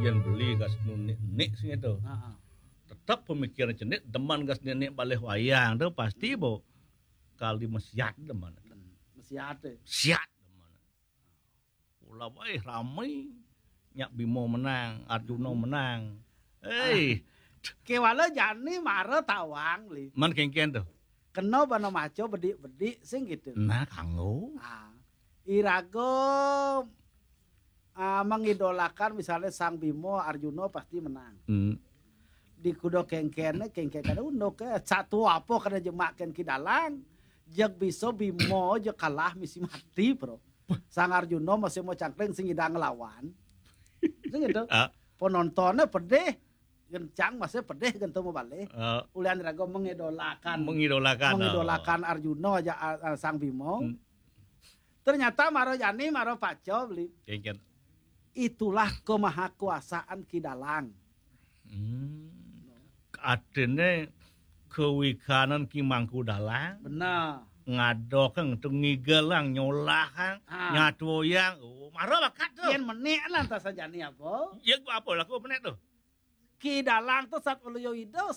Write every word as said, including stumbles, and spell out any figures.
Yén beli gas nunik-nik sing itu. Heeh. Tetep pemikiran cenik demen gas nenek balih wayang tu pasti bo kali mesiat demen. Mesiat. Siat demen. Ula bae ramai. Nyak Bimo menang, Arjuna menang. Hei. Kewala jani mara tawang li. Man kengken tu. Kena bana maco bedik-bedik sing gitu. Nah, kanggo. Ah. Irago ah, mengidolakan misalnya Sang Bimo, Arjuna pasti menang. Hmm. Di kuda kengken, kengken kada unduk ke. Satu apa kada jemaken Ki Dalang. Jeg bisa Bimo je kalah misi mati, bro. Sang Arjuna masih mau cangkring sing idang ngelawan. Sing gitu. Ah. Penontonnya pedih. Gencang masih pedih gentu mau balik. Ah. Ulian raga mengidolakan. Mengidolakan, Mengidolakan ah. Arjuna aja ah, ah, Sang Bimo. Hmm. Ternyata mara jani mara paco beli. Kengken. Itulah kemahakuasaan Ki Dalang. Hmm. Artine kewikanan Ki Mangku Dalang. Benar. Ngadokeng tu ngigelang nyolahang Ah. nyatuoyang. Oh, mara bakat tu. Yen menek lah entah sajani apa. Ya apa laku menek tu. Ki Dalang tu sat waluya ida,